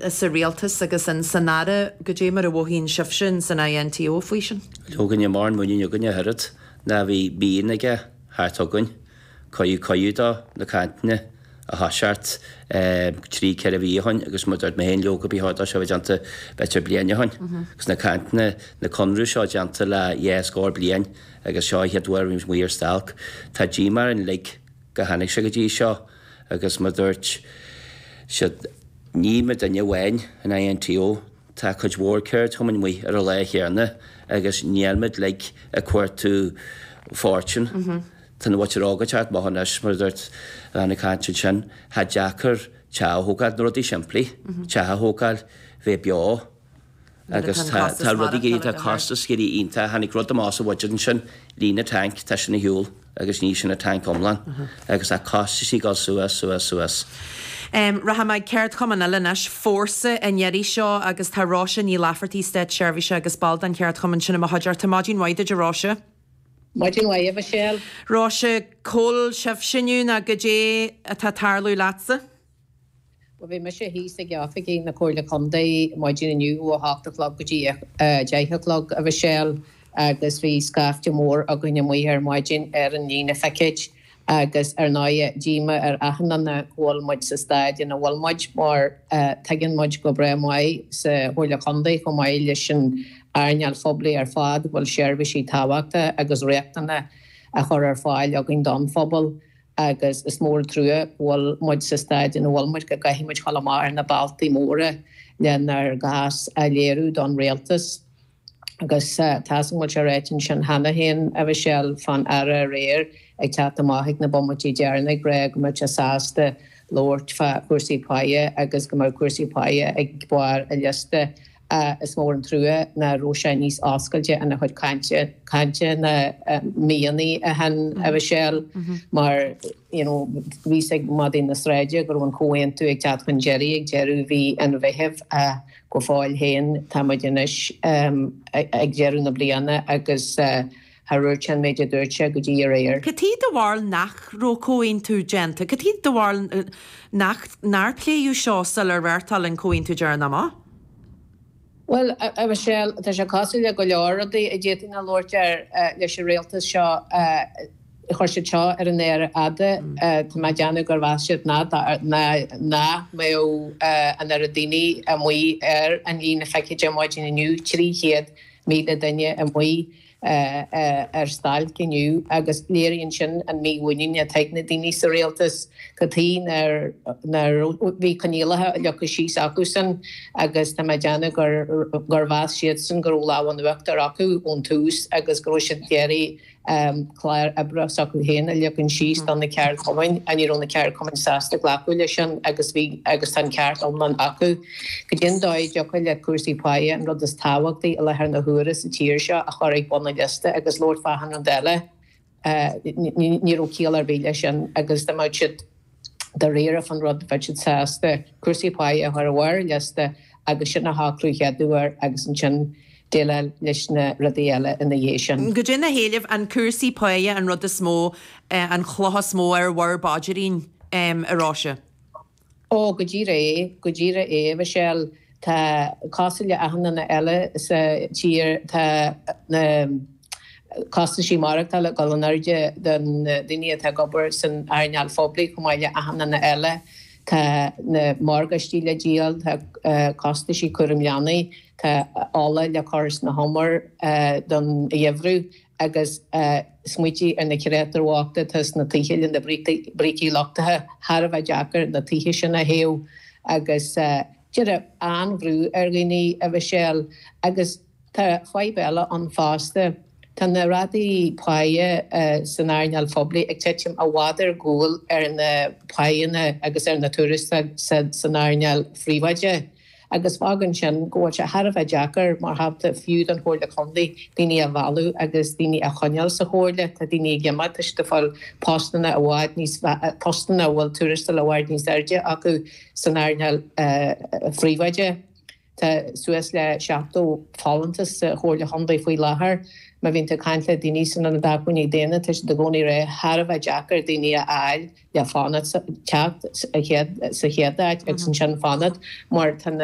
Sa rialtas agus in san Aire, goidé mar a mhothaíonn sibhse in san INTO faoi sin? Leoga, níl mórán muinín againn ach oiread ná bhí mian aige theacht chugainn. Cuireadh cuireadh dó na cainteanna a thoiseacht trí, 4 mhí ó shoin agus mar a dúirt mé féin leoga ba chóir dó seo a bheith déanta b'fhéidir bliain ó shoin. Agus na cainteanna, na conradh seo déanta le dhá scór bliain agus seo an chéad uair a bhí muid amuigh ar stailc. Tá díomá orainn uilig go tháinig sé go dtí seo agus mar a dúirt siad, Ní muidinne amháin in INTO, tá cuid mhór ceardchumainn amuigh ar an lá chéanna agus níl muid uilig ag cuartú fortune. Tá an mhuintir óg ag teacht amach anois, mar a dúirt an bhean ag caint ansin, tá deacair teach a thógáil, na rudaí simplí, teach a thógáil, bheith beo. Agus tá tá rudaí ag éirí, tá costas ag éirí iontach. Tháinig rud amach sa bhuiséad ansin, líne tanc, tá sin ar shiúl agus ní sin an tanc iomlán. Agus tá costais ag dul suas, suas, suas. Rachaidh mé ag ceardchumann eile anois, Fórsa an iarraidh seo agus tá Róise Ní Laifeartaigh, státseirbhíseach agus ball den cheardchumann sin i mo chuideachta. Maidin mhaith duit a Róise. Maidin mhaith a Mhichelle. Róise, cá bhfuil sibhse inniu nó goidé atá ag tarlú leatsa? Bhuel, bhí mise thíos ag oifigí na Comhairle Contae maidin inniu ó 8 a chlog go dtí 10 a chlog, a Mhichelle, agus bhí scaifte mór againn amuigh ar maidin ar an líne phicéid agus ar ndóighe díomá ar achan duine go bhfuil muid sa staid ina bhfuil muid mar tuigeann muid go breá maith sa Chomhairle Contae chomh maith leis an earnáil phoiblí ar fad go bhfuil seirbhísí tábhachtacha agus riachtanacha á chur ar fáil againn don phobal. agus is mór an trua go bhfuil muid sa staid ina bhfuil muid, go gcaithfidh muid dhul amach ar na bealtaí móra lenár gcás a léiriú don rialtas. Agus tá 'fhios agam go bhfuil sé ráite ansin cheana féin, a Mhichelle, fán Aire aréir ag teacht amach ag na bomaití deireanacha ag rá go mbeadh sé sásta labhairt fá chúrsaí páighe agus go mbeadh cúrsaí páighe ag barr a liosta. Is mór an trua ná raibh sé níos oscailte ina chuid cainte, cainte ná mianaigh a shin, a Mhichelle, mar you know bhí 'fhios ag madaí na sráide go raibh an comhaontú ag teacht chun deiridh ag deireadh mhí an Mheithimh ach go fóill féin tá muid anois ag deireadh na bliana agus Char dhúirt sé an méid a dúirt sé go dtí aréir. Cad chuige do bharúil nach raibh comhaontú déanta? Cad chuige do bharúil nach, nár pléadh seo sular reáchtáil an comhaontú deireanach amach? Bhuel, a Mhichelle, tá sé cosúil le go leor rudaí a d'fhéadfainn a labhairt air leis an rialtas seo. Chuir siad seo ar an mhéar fhada. Tá mé ag déanamh gur mheas siad nach mbeadh an oiread daoine amuigh ar an líne phicéid ar maidin inniu, 300,000 duine amuigh. ar stailc inniu agus léiríonn sin an mímhuinín atá ag na daoine sa rialtas. Cad chuige nár bhí coinníollacha leagtha síos acusan agus tá mé ag déanamh gur mheas siadsan go raibh lámh in uachtar acu ón tús agus go raibh siad ag iarraidh clár oibre s'acu féin a leagan síos do na ceardchumainn ach ní raibh na ceardchumainn sásta glacadh leis sin agus bhí agus tá an ceart iomlán acu. Goidé an dóigh a dtiocfadh le cúrsaí páighe, an rud is tábhachtaí i láthair na huaire sa tír seo, a chur ag bun an liosta agus labhairt fá achan rud eile, ní raibh ciall ar bith leis sin agus dá mbeadh siad dáiríre fán rud bheadh siad sásta cúrsaí páighe a chur ar bharr an liosta agus sin a shocrú chéad uair agus ansin déileáil leis na rudaí eile ina dhiaidh sin. Goidé na héilimh, an cúrsaí páighe an rud is mó, an chloch is mó ar bhur bpaidrín, a Róise? Ó, go díreach é, go díreach é, a Mhichelle. Tá, cosúil le achan duine eile sa tír, tá na costaisí maireachtála ag dul in airde do na daoine atá ag obair san earnáil phoiblí chomh maith le achan duine eile. Tá na morgáistí le díol, tá costaisí cúram leanaí, tá ola le cur sna humair don gheimhreadh. agus smaoitigh ar na créatúir bhochta atá sna tithe le na brící lochtaithe, thar a bheith deacair na tithe sin a théamh agus déarfainn an-bhrú ar dhaoine, a Mhichelle. Agus tá fadhb eile ann fosta, tá na rátaí páighe san earnáil phoiblí ag titim i bhfad ar gcúl ar na páigheanna agus ar na tuarastail san earnáil phríobháideach. agus fágann sin go bhfuil sé thar a bheith deacair, mar shampla, fiú don Chomhairle Contae daoine a mhealladh agus daoine a choinneáil sa Chomhairle. Tá daoine ag imeacht, tá siad ag fáil postanna i bhfad níos, postanna a bhfuil tuarastal i bhfad níos airde acu san earnáil phríobháideach. Tá suas le 70 folúntas sa Chomhairle Chontae faoi láthair. Má bhíonn tú ag caint le daoine san Ionad Acmhainní Daonna, tá siad i gcónaí ag rá thar a bheith deacair daoine a fháil le fanacht, teacht sa chéad áit agus ansin fanacht mar tá na.